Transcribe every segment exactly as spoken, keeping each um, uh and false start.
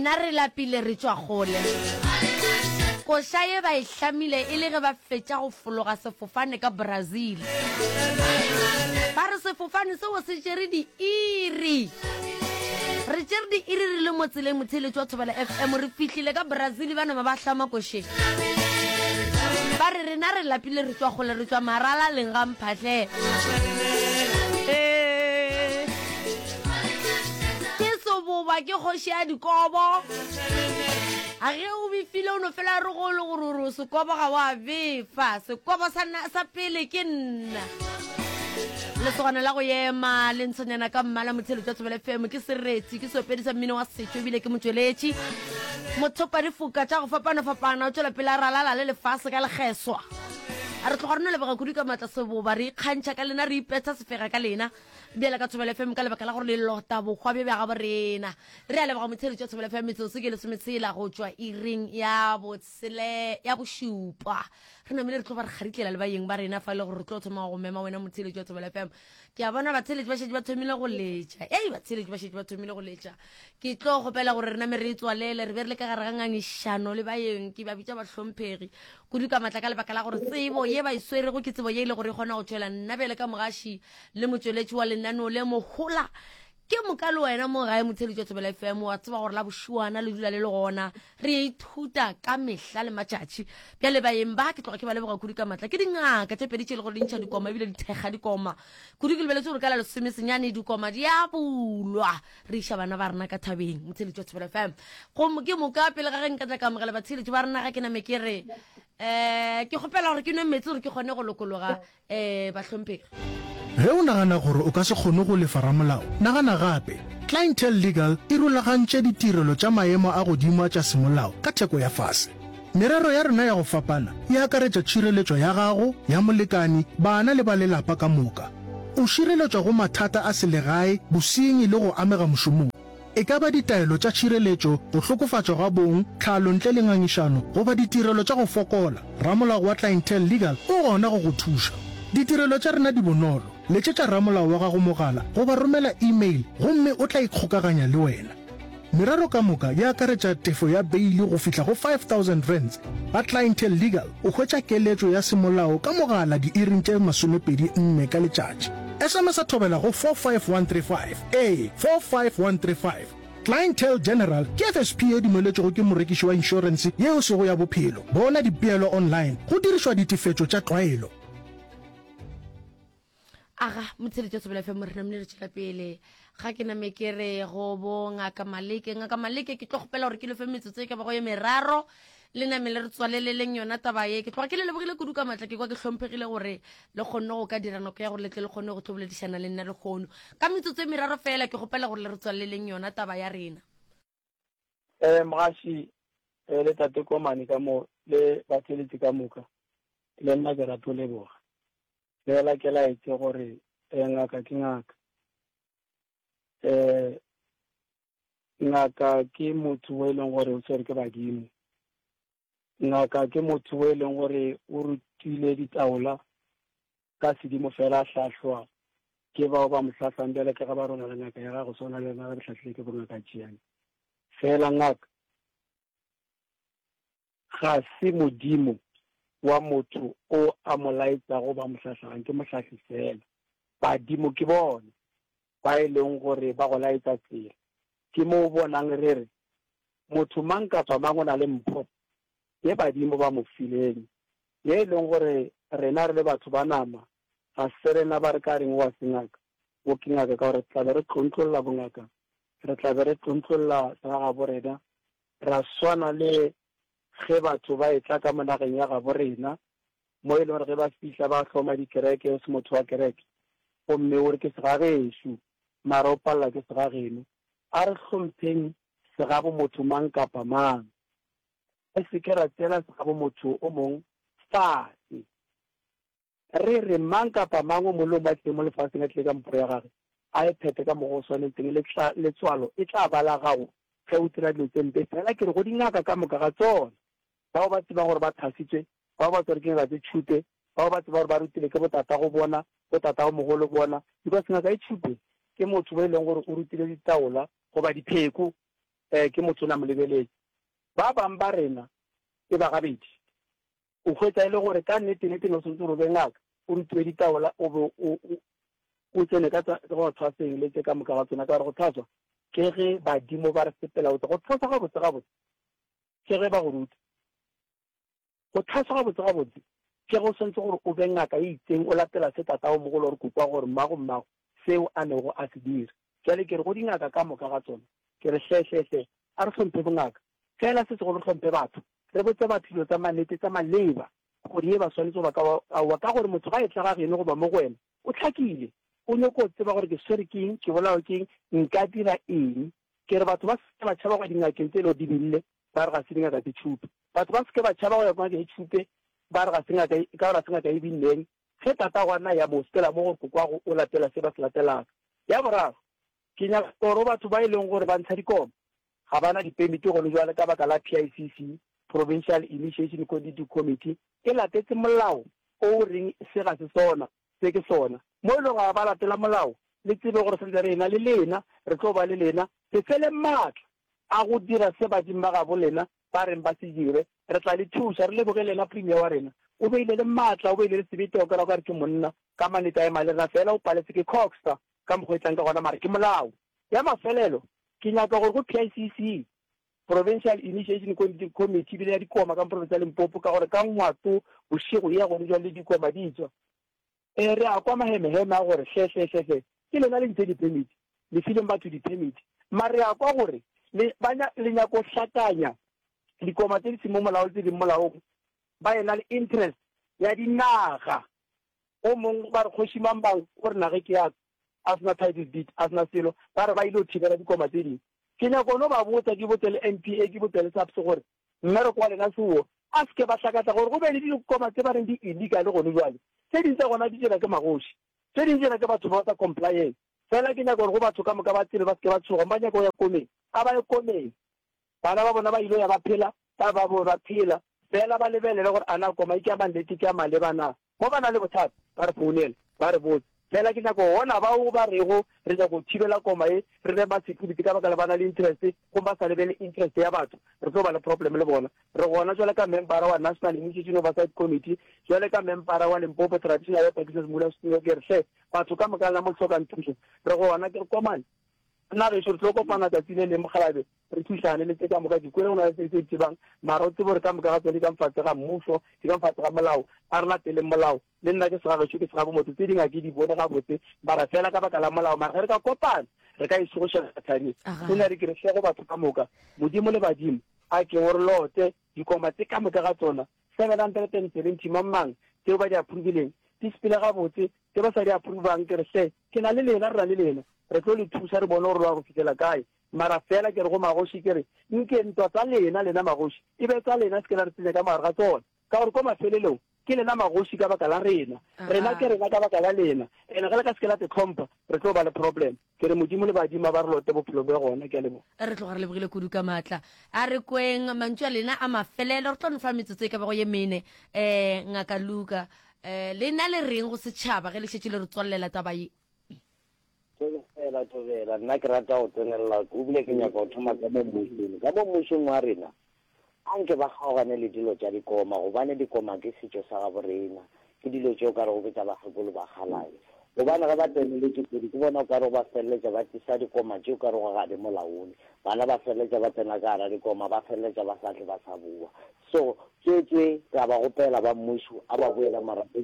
Rena re lapile re tšwa kgole. Koša ye ba e hlamile e le ge ba fetša go fologa sefofane ka Brazil. Ba re sefofane seo se tšere diiri. Re tšere diiri re le mo tseleng motheeletši wa Thobela F M re fihlile ka Brazil ba nama ba hlama košeng. Ba re rena re lapile re tšwa kgole re tšwa maralaleng ga Mphahle. Ee. Ke seboba ke kgoši ya dikobo. A ge o befile o no fela re go le gore gore sekobo ga wa befa. Sekobo sa, sa pele ke nna. Lesogana la go ema le ntshonyana ka mmala motheeletši wa Thobela F M ke sereti ke seopedi sa mmino wa setšo ebile ke motšweletši. Mothopa difoka tša go fapana-fapana o tšwela pele a ralala le lefase ka lekgeswa. A re tloga re no leboga kudu ka maatla seboba re ikgantšha ka lena re ipetha sefega ka lena bjale ka Thobela F M ka lebaka la gore le lota bokgwa bjo bja gabo rena. Re a leboga motheeletši wa Thobela F M metsotso ke lesometshela go tšwa iring ya botshele ya bošupa. Re namile re tlo ba re kgaritlela le baeng ba rena fa e le gore re tlo thoma go mema wena motheeletši wa Thobela F M. Ke a bona batheeletši ba šetše ba thomile go letša. Ei batheeletši ba šetše ba thomile go letša. Ke tlo kgopela gore re name re e tswalele re be re le ka gare ga ngangišano le baeng ke ba bitša bahlomphegi kudu ka maatla ka lebaka la gore tsebo ye ba e swerego ke tsebo ye e le gore e kgona go tšwela nna bjale ka mogaši le motšweletši wa lenaneo le mohola. Ke moka le wena mo gae motheeletši wa Thobela F M wa tseba gore la bošuana le dula le le gona re ithuta ka mehla le matšatši. Bjale baeng ba ke tloga ke ba leboga kudu ka maatla ke dingaka tše pedi tše e le gore di ntšha dikoma ebile di thekga dikoma kudu. Ke lebeletse gore ka la lesomesenyane dikoma di a bulwa re iša bana ba rena ka thabeng motheeletši wa Thobela F M. Gomme ke moka pele ga ge nka tla ka amogela batheeletši ba rena ga ke name ke re um ke kgopela gore ke nwe metsi gore ke kgone go lokologa um bahlomphegi. Ge o nagana gore o ka se kgone go lefa ramolao, nagana gape. Clientele Legal e rulagantše ditirelo tša maemo a godimo tša semolao ka theko ya fase. Merero ya rena ya go fapana e akaretša tšhireletšo ya gago, ya molekani, bana le ba lelapa ka moka. O šireletšwa go mathata a selegae, bosenyi le go amega mošomong. E ka ba ditaelo tša tšhireletšo, go hlokofatšwa ga bong, tlhalo ntle le ngangišano, goba ditirelo tša go fokola, ramolao wa Clientele Legal o gona go go thuša. Ditirelo tša rena di bonolo. Letšetša ramolao wa gago mogala goba romela email gomme o tla ikgokaganya le wena. Merero ka moka e akaretša tefo ya beili go fihla go five thousand rands. Ba Clientele Legal o hwetša keletšo ya semolao ka mogala diiring tše masomepedi nne ka letšatši. S M S a thobela go four five one three five, ee, four five one three five. Clientele General ke F S P e dumeletšwego ke morekiši wa inšorense yeo sego ya bophelo. Bona dipeelo online go dirišwa ditefetšo tša tlwaelo. Aga motheeletši wa Thobela F M re namile re tšwela pele ga ke name ke re go bo Ngaka Maleke. Ngaka Maleke, ke tlo kgopela gore ke lefe metsotso e ka bago ye meraro le name le re tswaleleleng yona taba ye. Ke tloga ke le lebogile kudu ka maatla, ke kwa ke hlomphegile gore le kgonne go ka dira nako ya gore le tle le kgone go tlo boledišana le nna le kgono. Ka metsotso e meraro fela ke kgopela gore le re tswaleleleng yona taba ya rena. um mogaši um le tate Komane ka mo le batheletši ka moka, le nna ke rato leboga fela ke laetse gore um ngaka ke ngaka, um ngaka ke motho o e leng gore o tshwere ke badimo. Ngaka ke motho o e leng gore o rutile ditaola ka sedimo fela a hlahlwa ke bao ba mo hlahlang bjale ka ga ba rona le ngaka ya gago swana le yena re hlahlile ke bongaka tšiane fela. Ngaka ga se modimo wa motho o a mo laetsago ba mo hlahlang, ke mohlahli fela. Badimo ke bona ba e leng gore ba go laetsa tsela. Ke mo o bonang re re motho mang kapa mang o na le mpho ye badimo ba mo fileng ye e leng gore rena re le batho ba nama ga se rena ba re ka reng wa se ngaka o ke ngaka, ka gore tla be re tlontlolla bongaka, re tla be re tlontlolla segagabo rena. Ra swana le ge batho ba etla ka mo nageng ya gabo rena mo e leng gore ge ba fihla ba hloma dikereke, o se motho wa kereke gomme o re ke segagešo mara o palela ke segageno. A re hlompheng segabo motho mang kapa mang, re se ke ra tseela segabo motho o mong fase. Re re mang kapa mang o mong le o mong a tlile mo lefaseng a tlile ka mpho ya gage, a e phethe ka mokgwa o swanetseng. Letswalo e tla ba la gago ge o dira dilo tse mpe fela. Ke re go dingaka ka moka ga tsona, bao ba tsebang gore ba thasitswe, bao ba tsware ke ngaka tse tšhupe, bao ba tseba gore ba rutile ke botatago bona, botatago mogolo bona, because ngaka e tšhupe ke motho bo e leng gore o rutile ditaola goba dipheko. um ke motho o na mo lebeletše. Ba bang ba rena e ba gabedi. O hwetša e le gore ka nnete-nnete ne o swanetše gore o be ngaka, o rutiwe ditaola, o be o, o, o tsene ka tsa go thwaseng le tše ka moka ga tsona, ka gore go thwaswa ke ge badimo ba re sepela botse. Go thwaswa gabotse gabotse ke ge ba go ruta. Go thwaswa gabotse gabotse ke ge o swanetše gore o be ngaka e itseng, o latela se tatago mogolo or kokwago or mmago mmago seo a nego a se dira. Bjale ke re go dingaka ka moka ga tsona, ke re hle hle hle, a re hlomphe bongaka, fela se segolo re hlomphe batho, re botse batho dilo tsa mannete tsa maleba, gore ye ba swanetše goba ka aowa, ka gore motho ga e tla ga geno goba mo go wena, o hlakile, o nyoko tseba gore ke swere ke eng, ke bolawa ke eng, nka dira eng. Ke re batho ba se ke ba tšhaba go ya dingakeng tse e le gore di bille, ba re ga se dingaka tse tšhupe. Batho ba se ke ba tšhaba go ya kwa ngakeng e tšhupe, ba re ga se ngaka e, ka gore ga se ngaka e billeng. Ge tatago a na ya mo, sepela mo gore kokwago o latela se ba se latelago. Ya boraro, ke nyaka gore go batho ba e leng gore ba ntsha dikoma, ga ba na dipemiti gone jwale ka baka la P I C C, Provincial Initiation Coordinating Committee, e latetse molao o o reng se ga se sona, se ke sona. Mo e lego ga ba latela molao, le tsebe gore santse re ena le lena, re tlo ba le lena, se fele maatla a go dira se badimo ba gabo lena ba reng ba se dire. Re tla le thuša. Re leboge lena Premier wa rena. O beile le maatla, o beile le sebete, wa kwela o ka re ke monna ka mannete a ema le rena, fela o paletse ke Coxa ka mokgwa e tlang ka gona, mara ke molao. Ya mafelelo, ke nyaka gore go P I C C, Provincial Initiation Committee, ebile ya dikoma ka mo province ya Limpopo, ka gore ka Ngwato bošego e ya gone jwale le dikoma di tswa. E, re a kwa mahemeheme a gore hle, hle, hle, hle, ke lena le ntše di-permit, le fileng batho di-permit, mara re a kwa gore le, ba nya, le nyako hlakanya dikoma tše di seng mo molaong le tse di molaong, ba ena le interest ya dinaga. O mong ba re kgoši Mambang o re nage ke ya ka, a sena title deed, a sena selo, ba re ba ile go thibela dikoma tše dingwe. Ke nyaka no ba botsa, ke botse le N P A, ke botse le SAPS gore mmereko wa lena seo, a se ke ba hlakatla gore go be le dikoma tse ba reng di illegal gone jwale. Tše ding tša gona di dira ke magoši, tše ding di dira ke batho ba ba sa complyeng. Fela ke nyaka gore go batho ka moka ba tsebe, ba se ke ba tshoga, ba nyaka go ya komeng, a ba ye komeng. Bana ba bona ba ile ya ba phela, ba ba bo ba phela, fela ba lebelele gore a na koma e ke ya mannete, ke ya maleba na. Mo ba na le bothata, ba re founele, ba re botse. Fela ke nyaka go bona bao ba rego re nyaka go thibela koma ye, re be ma-security ka baka la ba na le interest, gomme ba sa lebele interest ya batho, re tlo ba le problem le bona. Re gona jwale ka membara wa National Initiation Oversight Committee, jwale ka membara wa Limpopo Traditional Health Practitioners Modulasetulo, ke re hle, batho ka moka lena mo le hlokang thušo, re gona. Ke re komane, nna gešo re tlo kopana tsatsi le leng mokgalabe, re thušane le tse ka moka. Ke kwele go na le tse tse di tsebang, mara o tsebe gore ka moka ga tsone di ka mfatse ga mmušo, di ka mfatse ga molao, a re lateleng molao. Le nna ke segagešo, ke segabo motho, tse dingwe ga ke di bone gabotse, mara fela ka baka la molao. Mara ge re ka kopana, re ka e šogošela thabeng. Sena re ke re hle go batho ka moka, Modimo le badimo, a ke o re lote dikoma tse ka moka ga tsona, seven hundred and seventy mang mang, tseo ba di approvileng, di sepele gabotse, tse ba sa di approvang, ke re hle, ke na le lena, re na le lena, re tlo le thuša, re bone gore lwa go fihlela kae. Mara fela ke re go magoši, ke re nke ntwa tsa lena, lena magoši, e be tsa lena, se ke la re tsenya ka mogare ga tsona, ka gore ko mafelelong ke lena magoši ka baka la rena, rena ke rena ka baka la lena, ene ge le ka se ke la te tlhompha, re tlo ba le problem. Ke re Modimo le badimo ba re lote bophelo bja gona. Ke a leboga. Re tloga re lebogile kudu ka maatla. A re kweng mantšu a lena a mafelelo, re tlo no fa metsotso e ka bago ye mene. Um Ngaka Luka, um lena le reng go setšhaba ge le šetše le re tswallela taba ye? Thobela, thobela, nna ke rata go tsenelela, ebile ke nyaka go thoma ka mo mmušong. Ka mo mmušong wa rena, a nke ba kgaogane le dilo tša dikoma, gobane dikoma ke setšo sa gabo rena, ke dilo tšeo ka rego ke tša bakgekolo ba kgalae. Gobane ge ba tseneletše kudu, ke bona o ka rego ba feleletša ba tlisa dikoma tšeo ka rego ga di molaong. Bana ba feleletša ba tsena ka gara dikoma, ba feleletša ba sa tle ba sa boa. So tswetswe re a ba gopela ba mmušo, a ba boele morago,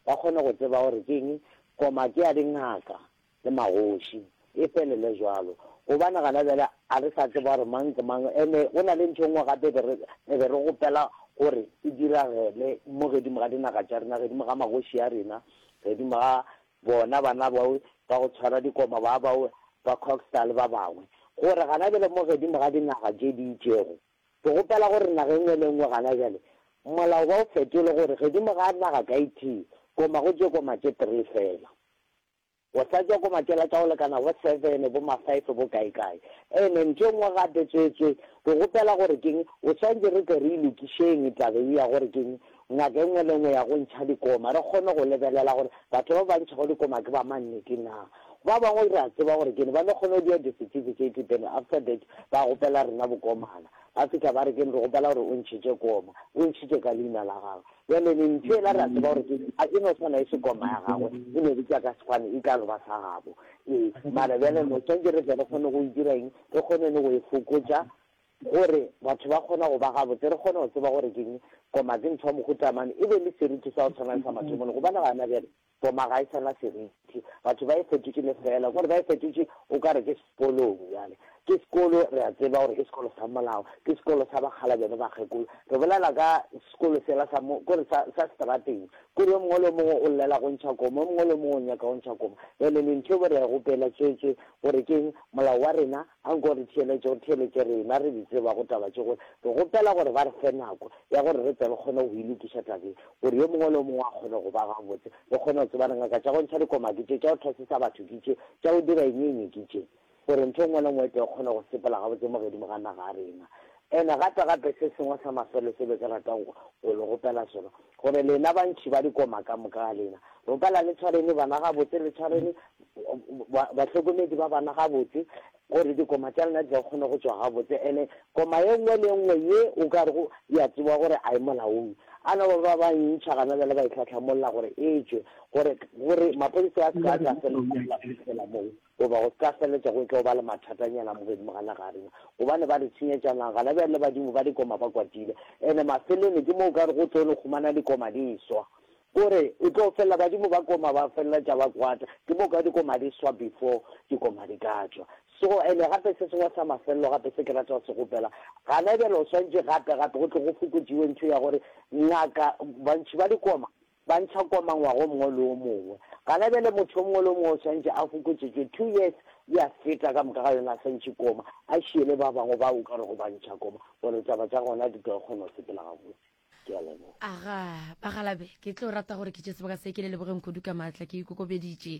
ba kgone go tseba gore ke eng koma ke ya dingaka le magoši, e felele jwalo. Gobane gana bjale a re sa tseba gore mang ke mang. Ene go na le ntho e nngwe gape be re be re gopela gore e diragele mo gedimo ga dinaga tša rena, gedimo ga magoši a rena, gedimo ga bona bana bao ba go tshwara dikoma ba bao ba Cogstar le ba bangwe, gore gana bjale mo gedimo ga dinaga tše di itšego, ke gopela gore naga e nngwe le nngwe gana bjale molao ba o fetole gore gedimo ga naga ka e tee koma go tše koma tše three fela. Go sa tšwa koma tšela tša go lekana bo seven, bo ma five, bo kae kae. Ene ntho e nngwe gape tswetswe, ke gopela gore keng, o swantše re tle re e lokišeng taba e ya gore keng, ngaka e nngwe le nngwe ya go ntšha dikoma, re kgone go lebelela gore batho ba ba ntšhago dikoma ke ba mannete na. Ba bangwe re a tseba gore kene ba no kgona go dia di-certificate then after that ba gopela rena bokomana. Ba fihla ba re kene re gopela gore o ntšhitše koma, o ntšhitše ka leina la gagwe. Bjale ne ntho ela re a tseba gore ke a e no swana e se koma ya gagwe, e no bitša ka sefane e tla no ba sa gabo. Ee, mara bjale no swantše re tle re kgone go e dira eng, re kgone le go e fokotša gore batho ba kgone go ba gabotse, re kgone go tseba gore keng koma ke ntho ya mohuta mang, e be le seriti sa go tshwana le sa mathomong. Gobane gana bjale koma ga e sa na seriti, batho ba e fetotše lefeela, kore ba e fetotše o ka re ke sekolong. Bjale ke sekolo, re a tseba gore ke sekolo sa molao, ke sekolo sa bakgalabje le bakgekolo. Re bolela ka sekolo sela sa mo, kore sa, sa seterateng, kore yo mongwe le yo mongwe o llela go ntšha koma, yo mongwe le yo mongwe o nyaka go ntšha koma. Bjale ne ntho eo re a e gopela tswetswe gore keng molao wa rena, a nko re theeletše, o theeletše rena re di tsebago taba tše, gore re gopela gore ba re fe nako ya gore re tle re kgone go e lokiša tabeng, gore yo mongwe le yo mongwe a kgone go ba gabotse, re kgone go tseba re ngaka tša go ntšha dikoma ke tše, tša go thwasisa batho ke tše, tša go dira eng eng ke tše, gore ntho e nngwe le nngwe e tle e kgone go sepela gabotse mo godimo ga naga ya rena. Ene gape gape se sengwe sa mafelelo se be ke ratang go le gopela sona, gore lena bantši ba dikoma ka moka ga lena, gopela le tshwarene bana gabotse, le tshwarene bahlokomedi ba bana gabotse, gore dikoma tša lena di tla kgone go tšwa gabotse. Ene koma ye nngwe le ye nngwe ye o ka rego ya tseba gore a e molaong, a no ba ba ba ntšha gana bjale ba e hlahlamolla gore e tšwe, gore, gore maphodisa a se ka tla fela moo, goba go se ka feletša go tlo ba le mathatanyana mo godimo ga naga ya rena, gobane ba re tshenyetša naga. Gana bjale le badimo ba dikoma ba kwatile, ene mafelelong ke mo o ka re go tlo no humana dikoma di swa, kore o tlo felela badimo ba koma ba feleletša ba kwata, ke mo ka dikoma di swa before dikoma di ka tšwa. So ene gape se sengwe sa mafelelo gape se ke rata go se gopela, gana bjale o swantše gape gape go tle go fokotšiwe ntho ya gore ngaka bantši ba dikoma ba ntšha koma ngwaga o mongwe le o mongwe. Gana bjale motho o mongwe le o mongwe o swantše a fokotšetšwe two years ya feta ka moka ga yona a sa ntšhe koma, a šiele ba bangwe ba o ka rego ba ntšha koma gore taba tša gona di tlo kgona go sepela gabotse. Ke a leboga. Aga, bagalabe, ke tlo rata gore ke tše sebaka se ke le lebogeng kudu ka maatla, ke ikokobeditše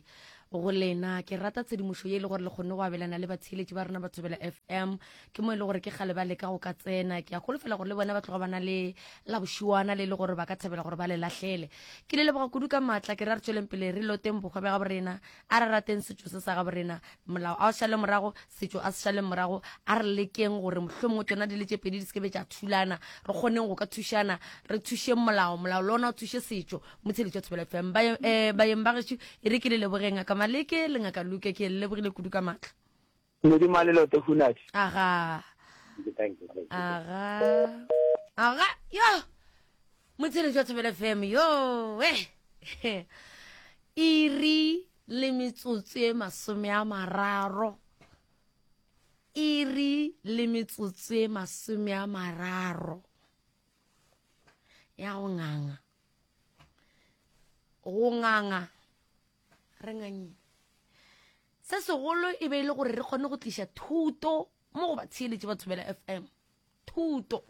go lena. Ke rata tshedimošo ye e le gore le kgonne go abelana le batheeletši ba rena ba Thobela F M. Ke mo e le gore ke kgale ba leka go ka tsena. Ke a holofela gore le bona ba tloga ba na le la bošiwana le le gore ba ka thabela gore ba le lahlele. Ke le leboga kudu ka maatla, ke ra re tšweleng pele re loteng bohwa bja gabo rena, a re rateng setšo se sa gabo rena. Molao a o šale morago, setšo a se šale morago. A re lekeng gore mohlomongwe tšona di le tše pedi di se ke be tša thulana, re kgoneng go ka thušana, re thušeng molao, molao le ona o thuše setšo. Motheeletši wa Thobela F M, ba, eh, baeng ba gešo, e re ke le lebogeng ngaka Maleke le ngaka Luke, ke le lebogile kudu ka maatla. Modimo a le lote hunadi. Aga. Thank you, thank you. Aga. Aga, yo. Motheeletši wa Thobela F M, yo, eh. Iri le metsotso e masome a mararo. Iri le metsotso e masome a mararo. Ya go nganga. Go nganga. Re ngangile. Se segolo e be e le gore re kgone go tliša thuto mo go batheeletši ba Thobela F M. Thuto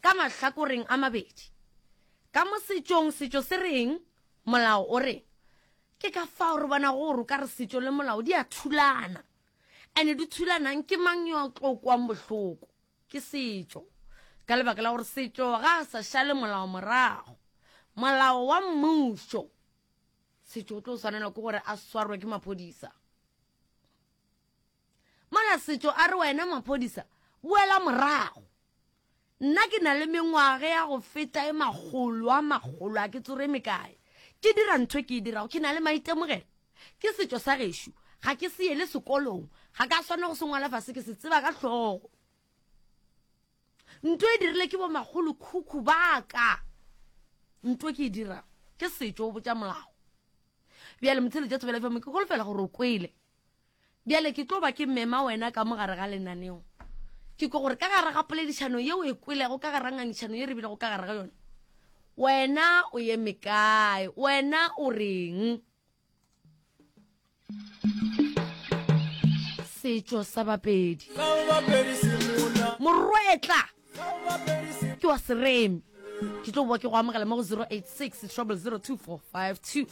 ka mahlakoreng a mabedi. Ka mo setšong, setšo se reng, molao o reng. Ke ka fao re bona gore o ka re setšo le molao di a thulana. Ene di thulanang ke mang yo a tlo kwang bohloko? Ke setšo. Ka lebaka la gore setšo ga a sa šale molao morago. Molao wa mmušo, setšo o tlo swanelwa ke gore a swarwe ke maphodisa. Mola setšo a re wena maphodisa, boela morago. Nna ke na le mengwaga ya go feta e makgolo a makgolo, a ke tsore mekae. Ke dira ntho ke e dirago, ke na le maitemogelo. Ke setšo sa gešo, ga ke se ele sekolong, ga ka swana go se ngwala fase, ke se tseba ka hlogo. Ntho e dirile ke bo makgolo khukhu ba ka. Ntho ke e dirago, ke setšo o botša molao. Bjale motheeletši wa Thobela F M, ke holofela gore o kwele. Bjale ke tlo ba ke mema wena ka mo gare ga lenaneo. Ke ko gore ka gare ga poledišano yeo e kwelego, ka gare ga ngangišano ye re bilego ka gare ga yona, wena o eme kae? Wena o reng? Setšo sa Bapedi. Morwetla ke wa Seremi. Ke tlo boa ke go amogela mo go zero eight six triple zero two four five two.